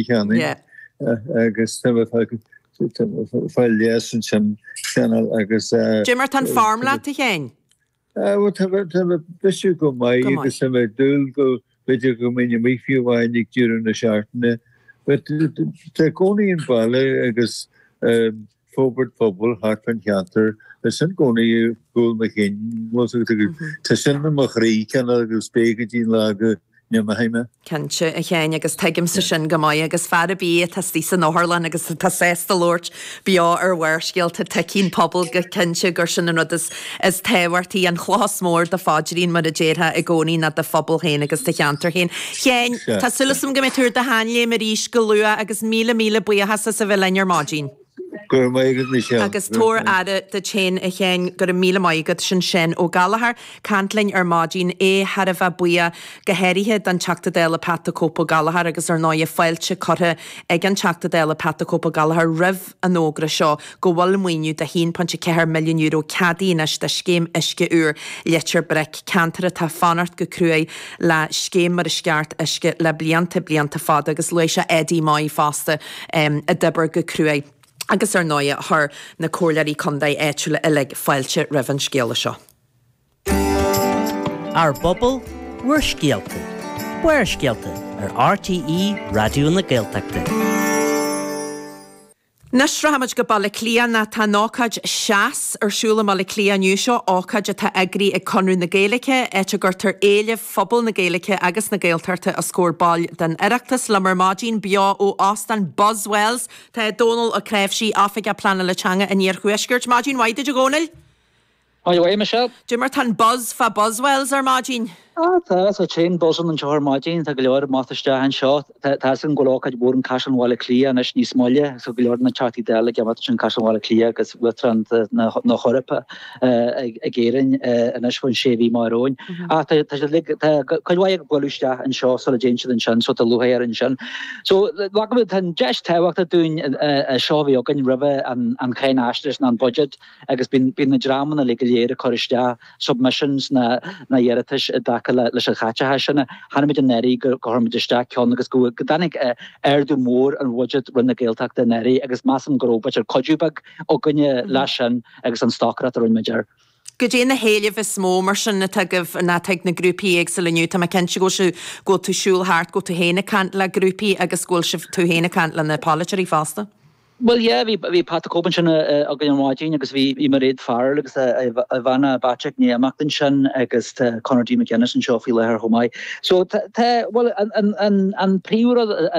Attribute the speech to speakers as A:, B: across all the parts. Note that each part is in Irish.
A: Cheanainn agus tá mé ag fáil leigheas ansin cineál agus.
B: Cad é mar tá an form leat, a Sheáin?
A: Bhuel tá mé ag bisiú go maith agus tá mé ag dúil go b'fhéidir go mbeinn amuigh fiú amháin ag deireadh na seachtaine. But tá i gcónaí an baile agus forbairt phobail thart fán cheantar, tá sin i gcónaí i gcúl mo chinn, tá sin i mo chroí cineál agus beidh go dtí an lá go n-imeoidh mé.
B: Cinnte, a Sheáin, agus tuigimse sin go maith, agus fear ar bith atá istigh san otharlann agus atá sásta labhairt beo ar Bharrscéalta, tuigeann pobal go cinnte gur sin an rud is is tábhachtaí, an chloch is mór do phaidrín, mar a déarfá i gcónaí, ná do phobal féin agus do cheantar féin. Sheáin, tá súil agam go mbeidh tú ar do sheanléim arís go luath agus míle míle buíochas as a bheith linn ar maidin.
A: Go raibh maith agat, Michelle.
B: Agus tabhair aire duit féin, a Sheáin. Go raibh míle maith agat. Sin Seán Ó Gallchóir, caint linn ar maidin. É thar a bheith buíoch, go háirithe don Teachta Dála Pat the Cope Ó Gallchóir agus ar ndóighe fáilte curtha ag an Teachta Dála Pat the Cope Ó Gallchóir roimh an fhógra seo go bhfuil maoiniú de €1.4 milliún ceadaithe anois do scéim uisce úr Leitir Bric, ceantar atá ag fanacht go cruaidh le scéim mar is ceart uisce le blianta, blianta fada agus luaigh sé Eddie Moy fosta a d'oibir go cruaidh agus ar ndóighe chuir na comhairleoirí contae áitiúla uilig fáilte roimh an scéala seo.
C: Ár bPobal, Bhur Scéalta, Barrscéalta ar RTÉ Raidió na Gaeltachta.
B: Anois rachaimid go Baile Átha Cliath nó tá an ócáid Seas ar siúl i mBaile Átha Cliath inniu. Seo ócáid atá eagraithe ag Conradh na Gaeilge, áit a gcuirtear éilimh phobal na Gaeilge agus na Gaeltachta os comhair baill den Oireachtas. Liom ar maidin, beo ó Óstán Buswells, tá Dónal Ó Cnáimhsí, Oifigeach Pleanála Teanga an Iarthuaiscirt. Maidin mhaith duit a Dhónaill!
D: Maidin mhaith, Michelle.
B: Cad é mar tá an buzz fá Buswells ar maidin?
D: Ah, tá, tá tréan buzz ann anseo ar maidin, tá go leor ag imeacht isteach anseo. Tá a fhios agam go bhfuil ócáid mhór in Caisleán Bhaile Átha Cliath anois níos moille, so go leor de na Teachtaí Dála ag imeacht ansin Caisleán Bhaile Átha Cliath agus Uachtarán na hEorpa ag Éirinn anois faoin sé mhí amach romhainn. Ach tá tá siad uilig, tá cuid mhaith ag bualadh isteach anseo sula dtéann siad ansin, so tá lúcháir ansin. So, tá an deis tábhachtach dúinn seo a bhí againn roimhe an cháinaisnéis nó an budget, agus bíonn bíonn na dreamanna uilig go léir ag cur isteach submissions ná ná iarratais i dtaca le leis an chaiteachas sin. Chonaic muid anuraidh go go chuir muid isteach ceann agus go go dtáinig ardú mór ar bhuiséad Roinn na Gaeltachta anuraidh agus measaim go raibh b'fhéidir cuidiú beag againne leis sin agus an stocaireacht a rinne muid air.
B: Goidé na héilimh is mó mar sin atá agaibh nó atá ag na grúpaí éagsúla inniu? Tá mé cinnte go bhfuil sibh, go bhfuil tú ag siúl thart, go bhfuil tú féin ag caint le grúpaí agus go bhfuil sibh, tú féin ag caint le na polaiteoirí fosta.
D: Bhuel yeah, bhí bhí Pat the Cope ansin againn ar maidin agus bhí bhí Mairéad Farrell agus a a bhean Patrick i ndiaidh imeacht ansin agus tá Conor D McGuinness anseo faoi láthair chomh maith. So tá tá bhuel an an an an príomhrud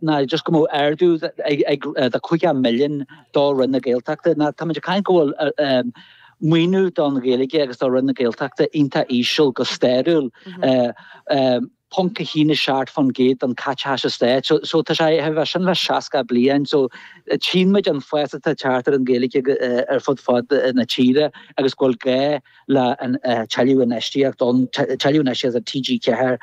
D: ná just go mbeadh ardú ag ag de 50 milliún do Roinn na Gaeltachta ná táimid ag caint go bhfuil maoiniú don Ghaeilge agus do Roinn na Gaeltachta iontach íseal go stairiúil. 0.17% den caiteachas an stáit. So, so tá sé a bheith sin le 60 bliain. So tchíonn muid an fás atá ag teacht ar an Ghaeilge ar fud fad na tíre agus go bhfuil gá le an tuilleadh infheistíocht ann, tuilleadh infheistíocht do TG4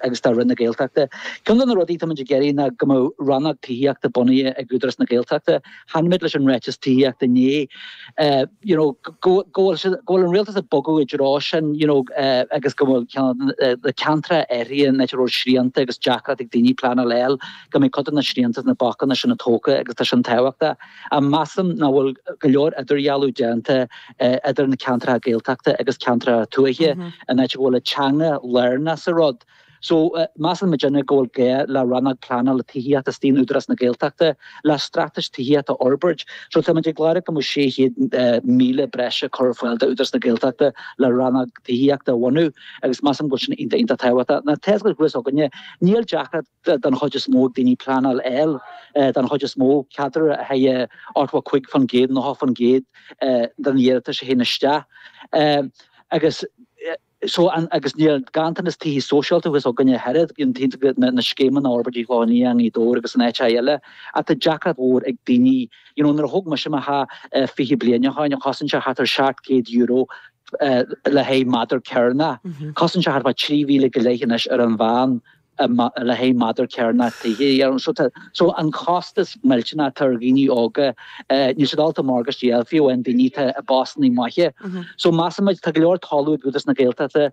D: agus do Roinn na Gaeltachta. Ceann de na rudaí atá muid ag iarraidh ná go mbeadh rannóg tithíochta bunaithe ag Údarás na Gaeltachta. Chonaic muid leis an ráiteas tithíochta inné, you know, go bhfuil siad, go bhfuil an rialtas ag bogadh i dtreo sin, you know, agus go bhfuil na ceantracha áirithe an áit a raibh srianta agus deacracht ag daoine pleanáil a fháil, go mbeidh cuid de na srianta is na bacanna sin tógtha agus tá sin tábhachtach. Ach measaim nach bhfuil go leor idirdhealú déanta idir na ceantracha Gaeltachta agus ceantracha tuaithe, an áit a bhfuil an teanga lárnach sa rud. So, measann muidinne go bhfuil gá le rannóg pleanála tithíochta istigh in Údarás na Gaeltachta le straitéis tithíochta a fhorbairt. So, tá muid ag lorg go mbeadh 600,000 breise curtha ar fáil d'Údarás na Gaeltachta le rannóg tithíochta a bhunú agus measaim go bhfuil sin iontach iontach tábhachtach. Now, tá a fhios againne, níl deacracht don chuid is mó ag daoine pleanáil a fháil, don chuid is mó, cead le haghaidh 85%, 90% den iarratais a théann isteach agus, So an, agus níl ganntanas tithe sóisialta thuas againne ach oiread, bíonn tithe, na, na scéimeanna á fhorbairt i gClochán Liath, i nGaoth Dobhair agus in áiteacha eile, ach tá deacracht mhór ag daoine, you know, nuair a thóg mise mo theach 20 bliain ó shoin, chosain sé thart ar €700 le haghaidh méadar cearnach, chosain sé thart fá 3,000 go leith anois ar an mheán. Le haghaidh méadar cearnach tithe, you know. So tá, so an costas millteanach atá ar dhaoine óga, níl siad ábalta morgáiste a fháil, fiú amháin daoine atá i bpostanna maithe. So measaimid, tá go leor talamh ag Údarás na Gaeltachta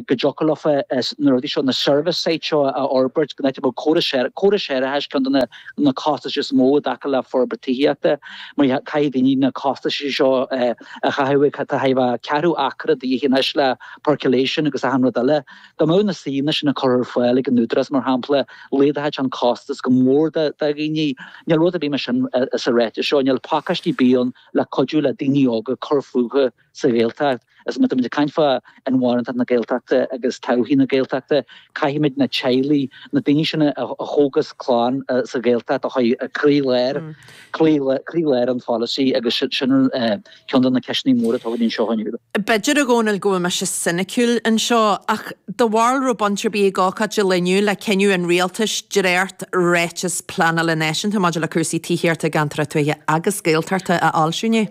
D: go dtiocfadh leofa na rudaí seo, na service sites seo a fhorbairt, go n-áit a mbeadh córas córas séarachais ceann de na na costais is mó i dtaca le forbairt tithíochta, mar caithfidh daoine na costais seo a chaitheamh, tá a bheith ceathrú acra de dhíth anois le percolation agus achan rud eile. Dá mbeadh na suíomhanna sin á cur ar fáil ag an Údarás, mar shampla, laghdódh an costas go mór do dhaoine. Níl rud ar bith mar sin sa ráiteas seo. Níl pacáistí ar bith ann le cuidiú le daoine óga cur fúthu sa Ghaeltacht. Is má táimid ag caint fá inmharthanacht na Gaeltachta agus todhchaí na Gaeltachta, caithfimid na teaghlaigh, na daoine sin a thógas clann sa Ghaeltacht a chur i gcroílár, croílár an pholasaí agus sin ceann de na ceisteanna móra atá againn anseo inniu.
B: B'fhéidir, a Dhónaill, go bhfuil mise soiniciúil anseo, ach do bharúil raibh baint ar bith ag ócáid an lae inniu le cinneadh an rialtais dréacht-ráiteas pleanála náisiúnta maidir le cúrsaí tithíochta i gceantair tuaithe agus Gaeltachta a fhoilsiú inné?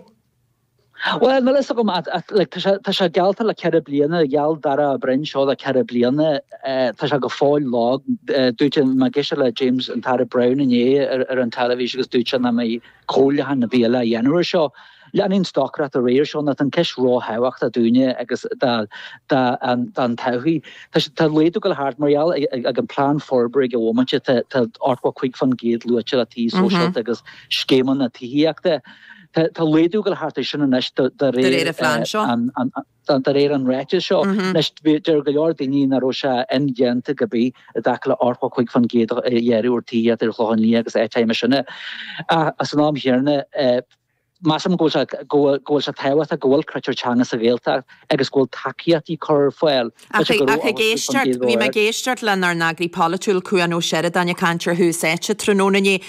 D: Bhuel, níl a fhios agam, like, tá sé, tá sé geallta le ceithre bliana, gheall Darragh O'Brien seo le ceithre bliana, tá sé go fóill lag. Dúirt, mé ag éisteacht le James, an tAire Browne inné ar, ar an teilifís agus dúirt sé nach mbeidh comhairliúchán ar bith eile á dhéanamh air seo. Leanfaidh an stocaireacht ar aghaidh air seo nó tá an ceist ró-thábhachtach dúinne agus don todhchaí. Tá laghdú ag dul thart mar gheall ag an plean forbartha ag an bhomaite tá 85% luaite le tithe sóisialta agus scéimeanna tithíochta. Tá laghdú ag dul thart air sin anois de
B: réir an phlean seo.
D: De réir an ráitis seo, anois, deir go leor daoine nach raibh sé indéanta go bith i dtaca le 85% a ghearradh ar tithíocht ar an Chlochán Liath agus áiteacha mar sin. Ach san am chéanna, measaim go bhfuil sé, go bhfuil sé tábhachtach go bhfuil critéir teanga sa Ghaeltacht agus go bhfuil tacaíochtaí curtha ar fáil.
B: Ach ag éisteacht, bhí mé ag éisteacht lenár n-eagraí polaitiúil, Cuan Ó Seireadáin ag caint ar Thús Áite tráthnóna inné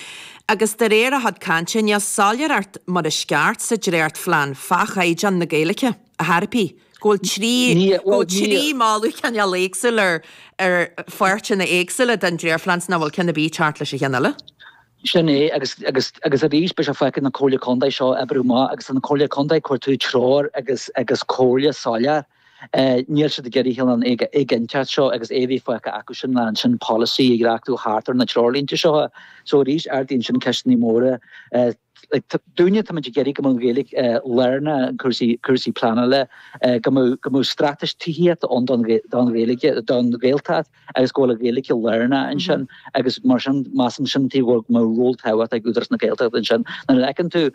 B: agus de réir a chuid cainte, níl soiléireacht mar is ceart sa dréachtphlean fá chaighdeán na Gaeilge. A thairbhí, go bhfuil trí, go bhfuil trí mholadh cineál éagsúil ar, ar pháirteanna éagsúla den dréachtphlean 's nach bhfuil ceann ar bith ag teacht leis an cheann eile.
D: Sin é, agus, agus, agus arís beidh sé fágtha ag na Comhairle Contae seo oibriú amach agus tá na Comhairle Contae ag cuartú treoir agus, agus comhairle soiléir. Níl siad ag iarraidh an éiginnteacht seo agus é a bheith fágtha acu sin le ansin polasaí a dhreachtú thart ar na treoirlínte seo. So arís ardaíonn sin ceisteanna móra. Dúinne, táimid ag iarraidh go mbeadh an Ghaeilge lárnach i gcúrsaí, cúrsaí pleanála, go mbeadh, go mbeadh straitéis tithíochta ann don, don Ghaeilge, don Ghaeltacht agus go bhfuil an Ghaeilge lárnach ansin agus mar sin, measaim sin taobh go mbeadh ról tábhachtach ag Údarás na Gaeltachta ansin. Nuair a fheiceann tú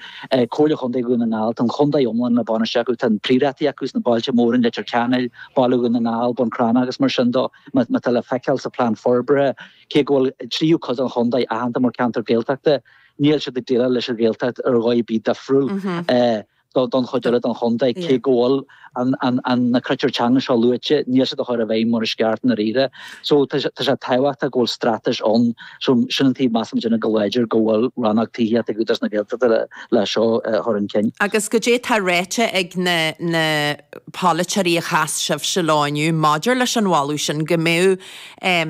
D: Comhairle Chontae Dhún na nGall, tá an chontae iomlán le bainistiú acu, tá an príorachtaí acu sna bailte móra, an Leitir Ceanainn, Baile Dhún na nGall, Bun Cranncha agus mar sin de, má tá le feiceáil sa phlean forbartha, cé go bhfuil tríú cuid den chontae aitheanta mar cheantar Gaeltachta, Níl siad ag déileáil leis an Ghaeltacht ar dhóigh ar bith difriúil don chuid eile den chontae. Cé go bhfuil na critéir teanga seo luaite, níl siad á chur i bhfeidhm mar is ceart i ndáiríre. So tá sé tábhachtach go bhfuil straitéis ann. So sin an taobh measaim muidne go láidir go bhfuil rannóg tithíochta ag Údarás na Gaeltachta le seo a chur chun cinn.
B: Agus goidé tá ráite ag na na polaiteoirí a chas sibhse leo inniu maidir leis an mholadh sin go mbeadh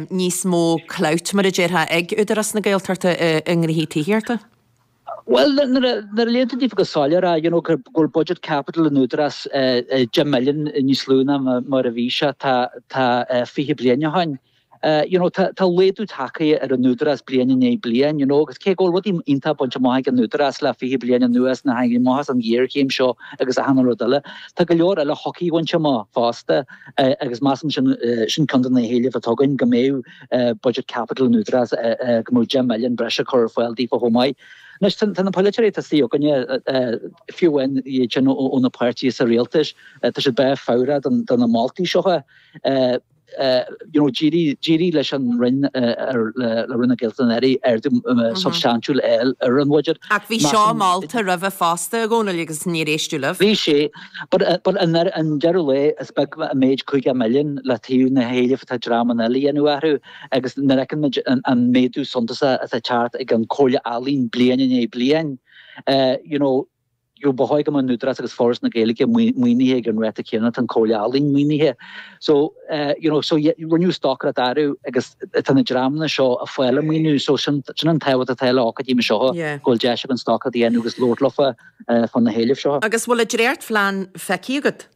B: níos mó clout, mar a déarfá, ag Údarás na Gaeltachta i ngnóthaí tithíochta?
D: Bhuel, nuair a léann tú daofa go soiléir é, you know, go bhfuil budget capital an Údarás 10 milliún níos lú ná mar a bhí sé tá 20 bliain ó shin. You know, tá laghdú tagtha ar an Údarás bliain i ndiaidh bliain, you know, agus cé go bhfuil rudaí iontach bainte amach ag an Údarás le 20 bliain anuas, na tháinig amach as an ghéarchéim seo agus achan rud eile, tá go leor eile a thiocfaidh bainte amach fosta. Agus measaim sin, sin ceann de na héilimh atá againn, go mbeadh budget capital an Údarás, go mbeadh 10 milliún breise curtha ar fáil daofa chomh maith. Anois, tá na polaiteoirí atá istigh againne, fiú amháin iad sin ó na páirtithe sa rialtas, tá siad breá fabhrach do na moltaí seo. You know, d'éirigh leis an Roinn, le Roinn na Gaeltachta anuraidh, ardú substaintiúil a fháil ar an bhuiséad.
B: Ach bhí seo molta roimhe fosta, a Dhónaill, agus níor éisteadh libh.
D: Bhí sé, but i ndeireadh lae is beag an méid 50 milliún le taobh na héilimh atá dreamanna eile a dhéanamh orthu agus nuair a fheiceann muid an méadú suntasach atá ag teacht ag an Comhairle Ealaíon bliain i ndiaidh bliain, you know, you know, ba chóir go mbeadh an Údarás agus Foras na Gaeilge maoinithe ag an ráta céanna atá an Comhairle Ealaíon maoinithe. So, you know, so rinneadh stocaireacht orthu agus tá na dreamanna seo ag fáil an maoiniú so sin an tábhacht atá le ócáidí mar seo, go bhfuil deis againn stocaireacht a dhéanamh agus labhairt leofa fá na héilimh seo.
B: Agus bhfuil an dréachtphlean feicthe agat?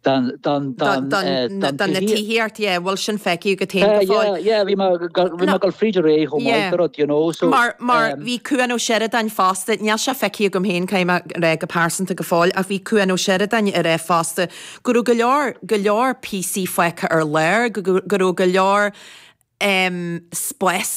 D: Don, don, don,
B: don, don na tithíocht, yeah, bhfuil sin feicthe agat féin go fóill?
D: Yeah, yeah, bhí mé, bhí mé ag dul fríd aréir chomh maith, the rud, you know, so.
B: Mar, mar bhí Cuan Ó Seireadáin fosta, níl sé feicthe agam féin, caithfidh mé a rá go pearsanta go fóill, ach bhí Cuan Ó Seireadáin ag rá fosta go raibh go leor, go leor píosaí fágtha ar lár, go, go raibh go leor em spásanna.